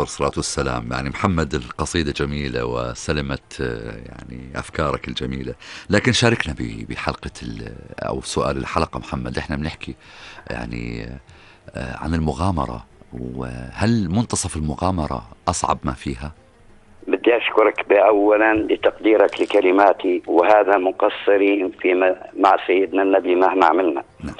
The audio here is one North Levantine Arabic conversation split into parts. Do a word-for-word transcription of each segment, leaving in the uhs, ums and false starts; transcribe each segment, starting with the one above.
والصلاة والسلام. يعني محمد، القصيدة جميلة وسلمت يعني أفكارك الجميلة، لكن شاركنا بحلقة أو سؤال الحلقة محمد. إحنا بنحكي يعني عن المغامرة، وهل منتصف المغامرة أصعب ما فيها؟ بدي أشكرك أولا لتقديرك لكلماتي، وهذا مقصرين في مع سيدنا النبي مهما عملنا. نعم.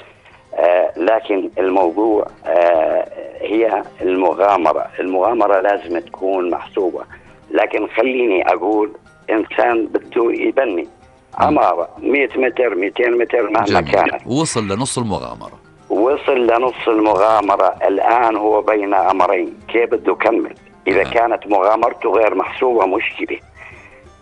آه لكن الموضوع آه هي المغامرة. المغامرة لازم تكون محسوبة، لكن خليني أقول إنسان بده يبني عمارة مئة متر مئتين متر مهما كانت، وصل لنص المغامرة وصل لنص المغامرة. الآن هو بين أمرين، كيف بده يكمل؟ إذا آه. كانت مغامرته غير محسوبة مشكلة.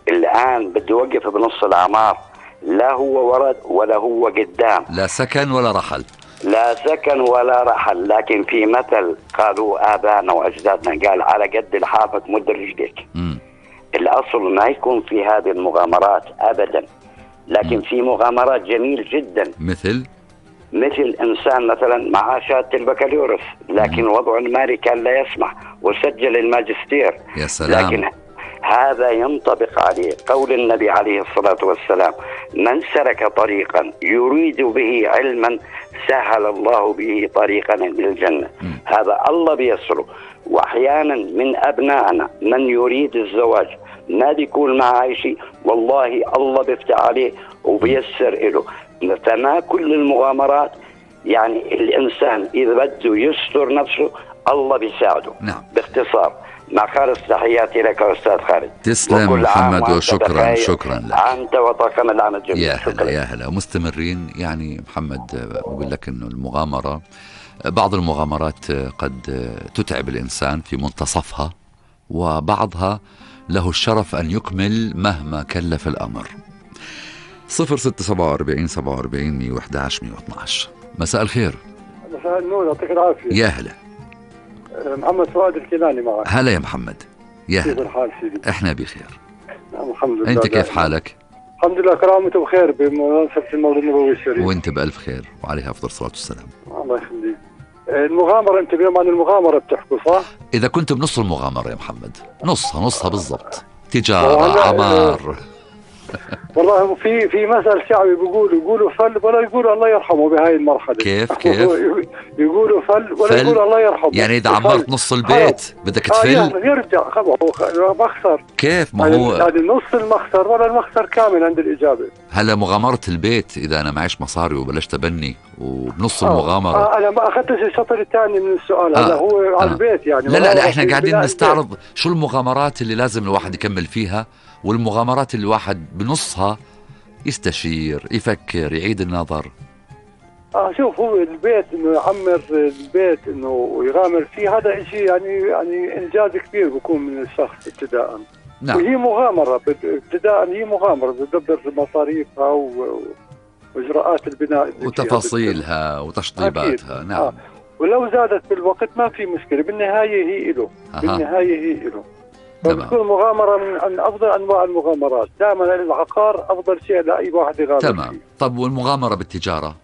الآن بده يوقف بنص العمار، لا هو ورد ولا هو قدام، لا سكن ولا رحل، لا سكن ولا رحل. لكن في مثل قالوا آبائنا وأجدادنا، قال على قد لحافك مد رجلك. الأصل ما يكون في هذه المغامرات أبدا، لكن م. في مغامرات جميل جدا، مثل مثل إنسان مثلا مع شهادة البكالوريوس لكن م. وضعه المالي كان لا يسمح وسجل الماجستير. يا سلام. لكن هذا ينطبق عليه قول النبي عليه الصلاة والسلام: من سلك طريقا يريد به علما سهل الله به طريقا للجنة. م. هذا الله بيسره. وأحيانا من أبنائنا من يريد الزواج ما بيكون معه شيء، والله الله بيفتح عليه وبيسر له. فما كل المغامرات، يعني الإنسان إذا بده يستر نفسه الله بيساعده. نعم. باختصار، مع خالص تحياتي لك أستاذ خالد. تسلم محمد، وشكرا شكرا لك. أنت وطاقم العمل الجميل. يا هلا يا هلا. ومستمرين يعني محمد بقول لك إنه المغامرة، بعض المغامرات قد تتعب الإنسان في منتصفها، وبعضها له الشرف أن يكمل مهما كلف الأمر. صفر ستة سبعة وأربعين سبعة وأربعين مية وإحدى عشر مية واثنى عشر. مساء الخير. مساء النور، يعطيك العافية. يا هلا. محمد فؤاد الكناني معك. هلا يا محمد. يا هلا. كيف الحال سيدي؟ احنا بخير. نعم الحمد لله. انت كيف حالك؟ الحمد لله، كرامته بخير بمناسبة المولد النبوي الشريف. وانت بألف خير وعليها أفضل الصلاة والسلام. الله يخليك. المغامرة، انت اليوم عن المغامرة بتحكوا صح؟ إذا كنت بنص المغامرة يا محمد، نصها نصها بالضبط، تجارة، عمار. والله في في مثل شعبي بيقولوا يقولوا فل ولا يقولوا الله يرحمه بهاي المرحلة. كيف كيف؟ يقولوا فل ولا يقولوا الله يرحمه. يعني إذا عمرت نص البيت بدك تفل؟ آه يرجع خبره مخسر. كيف؟ ما هو يعني نص المخسر ولا المخسر كامل عند الإجابة. هلا مغامرة البيت، إذا أنا معيش مصاري وبلشت أبني وبنص آه. المغامرة. آه أنا ما أخذتش الشطر الثاني من السؤال. هذا آه. هو آه. على البيت يعني. لا لا لا إحنا قاعدين نستعرض البيت. شو المغامرات اللي لازم الواحد يكمل فيها، والمغامرات اللي الواحد بنصها يستشير، يفكر، يعيد النظر. اه شوف، هو البيت انه يعمر البيت انه يغامر فيه، هذا شيء يعني يعني انجاز كبير بيكون من الشخص ابتداء. نعم. وهي مغامرة ابتداء، هي مغامرة بتدبر مصاريفها واجراءات البناء وتفاصيلها وتشطيباتها. نعم. آه. ولو زادت بالوقت ما في مشكلة، بالنهاية هي له. آه. بالنهاية هي له. فبتكون مغامرة من أفضل أنواع المغامرات. دائما العقار أفضل شيء لأي واحد يغامر. تمام. فيه. طب والمغامرة بالتجارة؟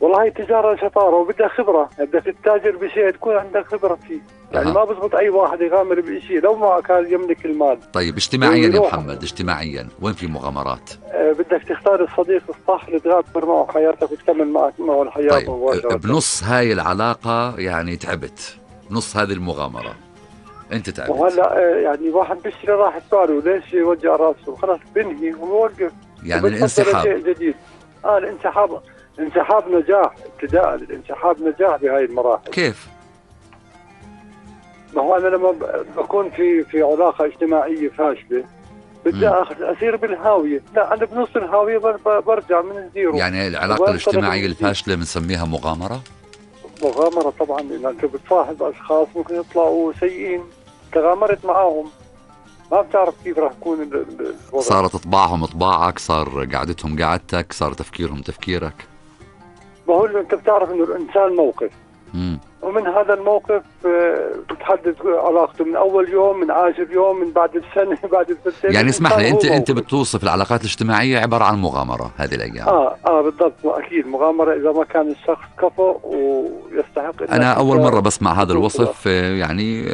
والله التجارة شطارة وبدها خبرة، بدك تتاجر بشيء تكون عندك خبرة فيه. يعني أه. ما بزبط أي واحد يغامر بشيء لو ما كان يملك المال. طيب اجتماعيا يا محمد، اجتماعيا وين في مغامرات؟ أه بدك تختار الصديق الصح اللي تغامر معه حياتك وتكمل معك معه الحياة. طيب مباشرة. بنص هاي العلاقة يعني تعبت، نص هذه المغامرة انت تعبت. وهلا يعني واحد بيشتري راحة باله، ليش يوجع راسه؟ خلاص بنهي وبوقف. يعني الانسحاب. شيء جديد. اه الانسحاب، انسحاب نجاح ابتداء، الانسحاب نجاح بهاي المراحل. كيف؟ ما هو انا لما بكون في في علاقة اجتماعية فاشلة بدي اخذ اسير بالهاوية، لا انا بنص الهاوية برجع من الزيرو. يعني العلاقة الاجتماعية الفاشلة بنسميها مغامرة؟ مغامرة طبعا، لأن أنت بتصاحب أشخاص ممكن يطلعوا سيئين، تغامرت معاهم ما بتعرف كيف راح يكون الوضع. صارت طباعهم طباعك، صار قعدتهم قعدتك، صار تفكيرهم تفكيرك. ما هو أنت بتعرف إنه الإنسان موقف. مم. ومن هذا الموقف بتحدد علاقته من اول يوم، من اخر يوم، من بعد السنه، بعد السنتين. يعني اسمح لي، انت انت بتوصف العلاقات الاجتماعيه عباره عن مغامره هذه الايام. اه اه بالضبط، اكيد مغامره اذا ما كان الشخص كفؤ ويستحق. انا اول مره بسمع هذا الوصف، يعني